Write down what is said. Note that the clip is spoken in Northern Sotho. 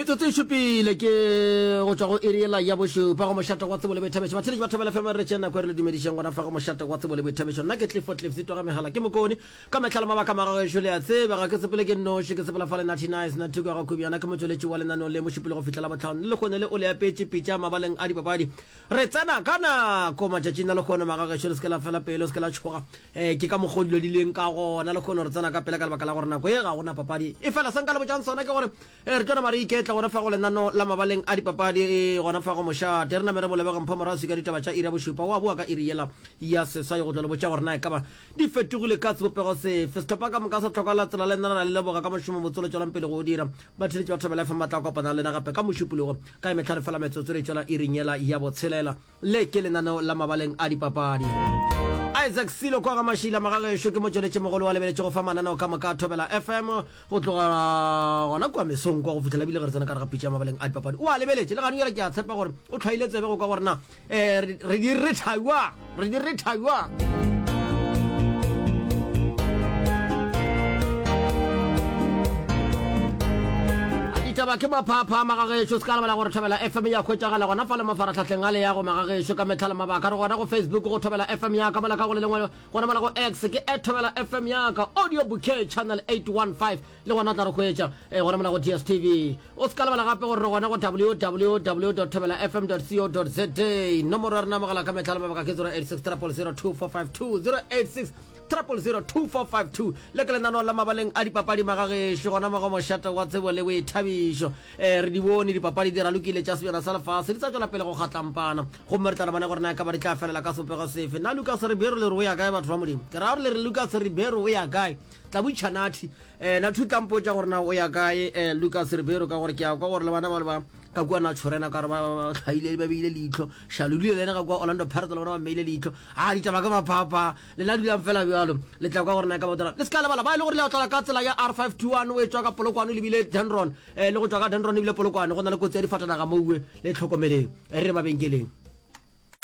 Metsotso e šupile ke go tšwa go iri yela ya bošupa go mošate wa tsebo le boithabišo. Batheeletši ba Thobela FM re tšea nako e re le dumedišeng gona fa go mošate wa tsebo le boithabišo. Nna ke Clifford Cliff Sitwa ga megala ke mokone ka mehla le mabaka magagešo le a tseba ga ke sepele ke nnoši ke sepela fa le Natty Nice Nathuko ya ga Khubjana ke motšweletši wa lenaneo le mošupile go fihla Labohlano le lekgone le o le apetše pitša mabaleng a dipapadi. Re tsena ka nako matšatšing a lekgone magagešo le se ke la fela pelo se ke la tšhoga Ee, ke ka mokgwa o dilo di leng ka gona lehono. Re tsena ka pela ka lebaka la gore nako ye ga go na papadi. Efela se nka le botšang sona ke gore eh, re tlo nama re iketla gona fa go lenano la mabaleng a dipapadi eh, gona fa go mošate. Re name re bolebege Mpho Moraswi ka ditaba tša iri ya bošupa. O a boa ka iri yela ya seswai go tlo le botša gore na e ka ba di fetogile ka sebopego sefe. Sehlopha ka moka sa tlhoka la tsela le nna ra le leboga ka mošomo motse o le tšwelang pele go o dira. Batheeletši ba Thobela FM ba tla kopana le lena gape ka Mošupologo ka e mehlano fela metsotso re tšwela iring yela ya botshelela. Le ke lenaneo la mabaleng a dipapadi. Isaac Silo kwa ga Mašila Magagešo ke motšweletšimogolo wa lebeletše go fa mananeo ka moka a Thobela FM go tloga gona kua mesong kwa go fihlela ebile ge re tsena ka gare ga pitša ya mabaleng a dipapadi. O a lebeletše le gane bjale ke a tshepa gore o hlwaile tsebe go kwa gore na um re di retha bjang, re di retha bjang. Ditaba ke maphaaphaa magagešo, se ka lebala gore Thobela FM ya hwetšagala gona fa le mafarahlahleng a leago magagešo ka mehla le mabaka. Re gona go Facebook go Thobela FM ya ka, mola ka go le lengwe gona mola go X ke at Thobela FM ya ka, Audio Bouquet Channel 815 le gona o tla re hwetša eh, gona mola go DSTV. O se ka lebala gape gore re gona go www dot thobela fm dot co dot za. Nomoro ya rena ya mogala ka mehla le mabaka ke 086 000 2452 086 0002452. Le ke lenaneo la mabaleng a dipapadi magagešo gona mo go mošate wa tsebo le boithabišo. Eh, re di bone dipapadi di ralokile tša sebjana sa lefase di sa tšwela pele go kgatlampana gomme re tla re bone gore na e ka ba di tla felela ka sebopego sefe. Na Lucas Ribeiro le re o ya kae batho ba Modimo? Ke ra gore le re Lucas Ribeiro o ya kae? Tla botšiša Nathi. Eh, Nathi o tla mpotša gore na o ya kae eh, Lucas Ribeiro ka gore ke a kwa gore le bana ba le ba ka kua Naturena ka gore ba ba hlaile ba beile leihlo. Shalulile le yena ka kua Orlando Pirates le bona ba mmeile leihlo. A ditaba ke maphaaphaa. Lena dulang fela bjalo, le tla kwa gore na e ka ba dira. Le se ka lebala, ba e le gore le ya tlala ka tsela ya R521 o etšwa ka Polokwane o lebile Dendron, eh, le go tšwa ka Dendron o lebile Polokwane, go na le kotsi ya difatanaga moue, le hlokomeleng. Re re mabenkeleng.